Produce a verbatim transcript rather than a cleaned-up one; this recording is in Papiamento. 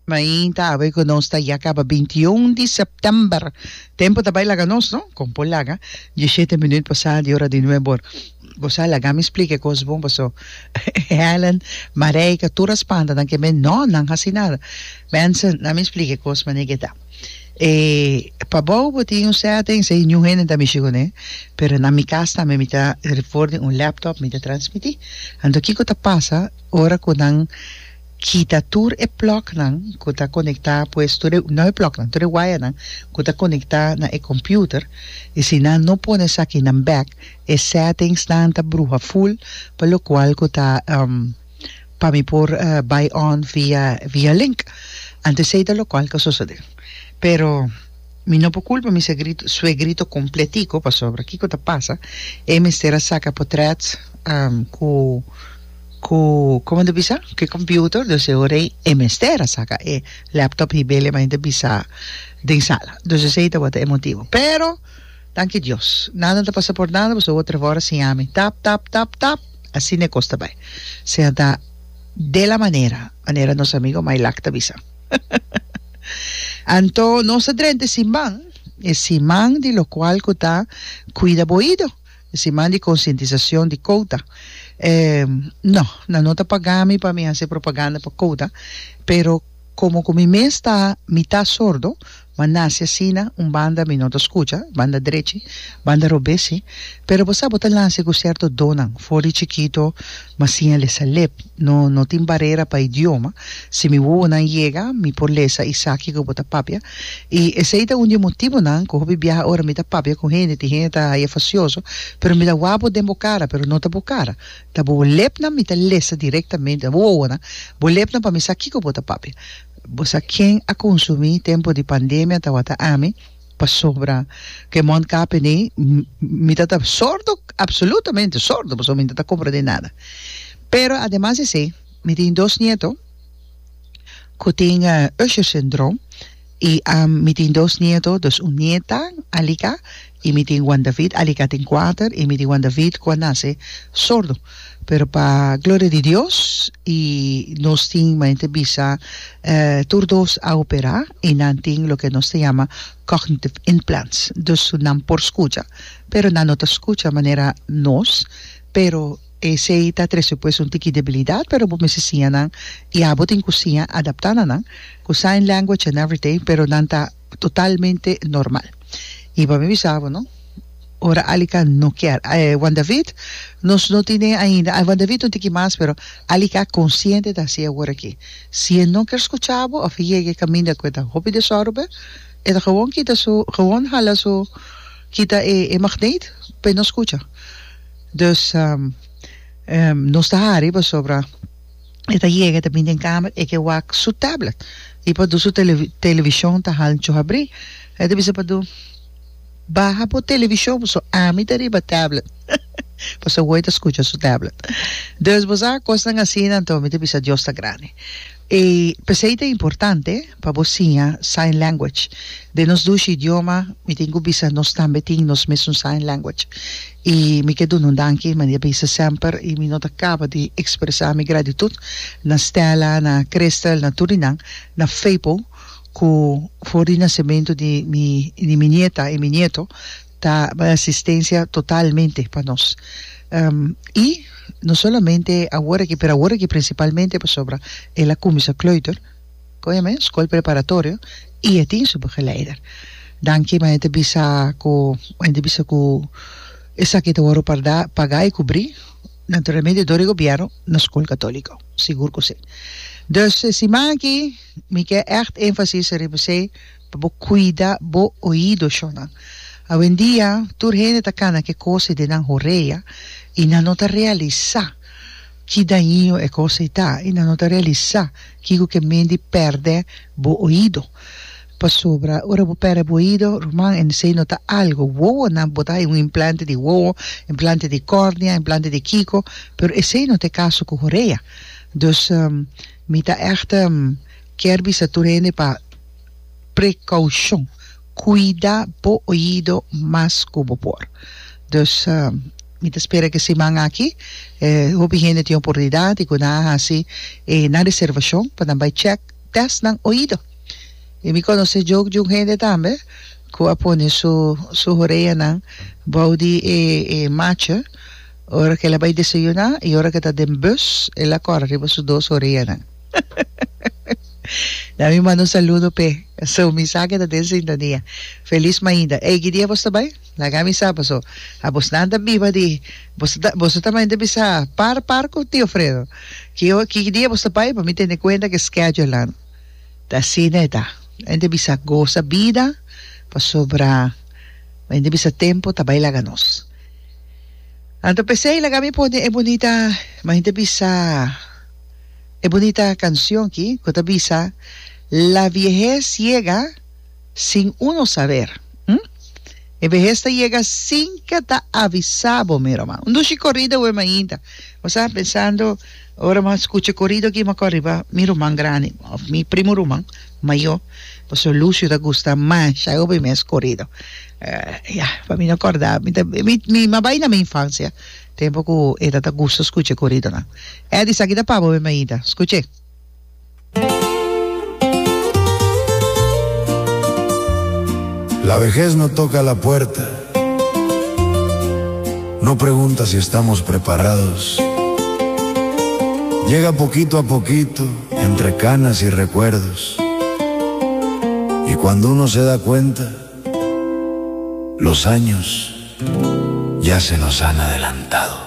Mainta awe ku nos ta ya kaba bintiun di sèptèmber. Tempu ta bai laga nos, no? Kon por laga? Dieshete minüt pasá di ora di nuebe or. Bo sa, laga mi splika e kos bon paso Helen, Marijke, tur a spanta nan ke men no, nan hasi nada. Mensen, laga mi splika e kos manera ke ta. E pabou bo tin un setting, esei niun hende ta mishi kuné, pero na mi kas tambe mi ta for di un laptop mi ta transmití. Anto kiko ta pasa ora ku nan kita tur e plugnan ku ta konektá, pues tur e, no e plugnan, tur e wayanan ku ta konektá na e computer, i si nan no pone esakinan bèk, e settingsnan ta bruha full pa lokual ku ta pa mi por bai on via via link. Anto esei ta lokual ku a sosodé. Pero mi no por kulpa mi segrito, suegrito kompletico pasobra kiko ta pasa, e mester a saka potrèt ku ku komo ta bisa ku e computer, dus e ora ei e mester a saka e laptop hib'el e mainta bisa den sala. Dus esei tabata e motibu. Pero danki Dios nada no ta pasa por nada pasobra otro ora siña mi tap tap tap tap asina e kos ta bai. Sea ta de la manera, manera nos amigo Mailak ta bisa. Anto nos a drenta e siman, e siman di lokual ku ta kuida bo oido, e siman di konsientisashon di kouta. E, no, nan no ta paga mi pa mi hasi propaganda pa kouta, pero komo ku mi mes ta mitá sordo, m'a nase asina, un banda mi no ta skucha, banda drechi, banda robes si, pero bo sa bo ta nase ku sierto donnan, for di chikito m'a siña lesa lep, no no tin barera pa idioma, si mi wowonan yega mi por lesa i sa kiko bo ta papia, i esei ta un di e motibonan ku hopi biaha ora mi ta papia ku hende tin hende ta haya fasioso, pero mi ta wak bo den bo kara pero no ta bo kara, ta bo lepnan mi ta lesa direktamente, bo wowonan, bo lepnan pa mi sa kiko bo ta papia. Bo sa ken a consumi tempo di pandemia tawata ami pasobra ke mondkapje ni mi ta ta sordo absolutamente sordo pasobra mi no ta comprende nada pero ademas di esey mi tin dos nieto cu tin Usher syndroom y mi tin dos nieto dus un nieta Alika y mi tin Juan David Alika tin cuater y mi tin Juan David cu a nace sordo. Pero pa gloria di Dios y nos tin manera ta bisa tur dos a opera y nan tin loke nos ta yama cognitive implants dus nan por scucha pero nan no ta scucha manera nos pero esey ta trece pues un tiki debilidad pero bo mester siña nan y abo tin cu siña adapta na nan cu sign language and everything pero nan ta totalmente normal y pa mi bisa bo no. Ora Alika no kier. Juan David, nos no tine ainda. Juan David un tiki mas, pero Alika konsiente ta hasi awor aki. Si e no kier skucha bo òf e yega e kaminda ku e ta hopi desorbe, e ta gewon kita su, gewon hala su, kita e e magneet pa e no skucha. Dus nos ta hari pasobra e ta yega, e ta bini den kamer, e ke wak su tablet i pa du su televishon ta hancho habrí. E ta bisa pa du. Baha bo televishon paso ami ta riba tablet. Paso awor e ta skucha su tablet. Dus bo sa kosnan asina anto mi ta bisa Dios ta grandi. I p'esei ta importante pa bo siña sign language. Den nos dushi idioma mi tin ku bisa nos tambe tin nos mesun sign language. I mi ke duna un danki manera bisa semper i mi no ta kaba di ekspresá mi gratitut na Stella, na Christel, na tur di nan, na Fepo. Ku for di nasementu di mi di mi nieta i mi nieto ta bai asistensia totalmente pa nos. I no solamente awor aki pero awor aki prinsipalmente pasobra el a kuminsá kleuter, kon yama e? Skol preparatorio i e tin su begeleider. Danki ma e ta bisa ku e ta bisa ku esaki ta wòrdu parda pagá i kubrí naturalmente dor di gobièrnu na skol katóliko, sigur ku si. Dus e siman aki mi ke ègt énfasis riba esei pa bo kuida bo oido shonnan. Awendia tur hende ta kana ke kos ei den nan horea i nan no ta realisá ki daño e kos ei ta i nan no ta realisá kiko ke men di pèrdè bo oido. Pasobra ora bo pèrdè bo oido, ruman, esei no ta algo. Wowonan, bo ta haña un implante di wowo, implante di kòrnea, implante di kiko, pero esei no ta e kaso ku horea. Dus mi ta ègt kier bisa tur hende pa prekoushon, kuida bo oido mas ku bo por. Dus mi ta spera ku e siman aki hopi hende tin oportunidat i ku nan a hasi nan reservashon pa nan bai chèk tèst nan oido. I mi konosé joke di un hende tambe ku a pone su su horeanan bou di e e machi ora ku el a bai desayuná i ora ku e ta den bus el a kòrda riba su dos horeanan. Na mi manda un saludo p'e. So mi sa ke ta den sintonia. Felis mainta. Ey, ki dia bos ta bai? Laga mi sa paso a bosnan ta biba di boso ta boso ta mainta bisa par par ku tio Fredo. Ki ki dia bos ta bai pa mi tene kuenta ke schedule nan. Ta asina e ta. Hende bisa gosa bida pasobra hende bisa tempo ta bai laga nos. Anto p'esei laga mi pone e bunita ma hende bisa e bunita cancion aki cu ta bisa La viehez yega sin uno saber. Hm? E behes ta yega sin ke ta avisa bo, mi ruman. Un dushi corrido awe mainta. Bo sa pensando ora mi a scucha e corrido aki mi a corda riba mi ruman grandi of mi primo ruman mayor pasobra Lucio ta gusta masha hopi mes corrido. Ya, pa mi no corda mi ta mi mi a bay na mi infancia tempo cu e ta ta gusta scucha e corridonan. Eddie, esaki ta pa bo mi mainta. Scuch'e. La vejez no toca la puerta, no pregunta si estamos preparados. Llega poquito a poquito, entre canas y recuerdos. Y cuando uno se da cuenta, los años ya se nos han adelantado.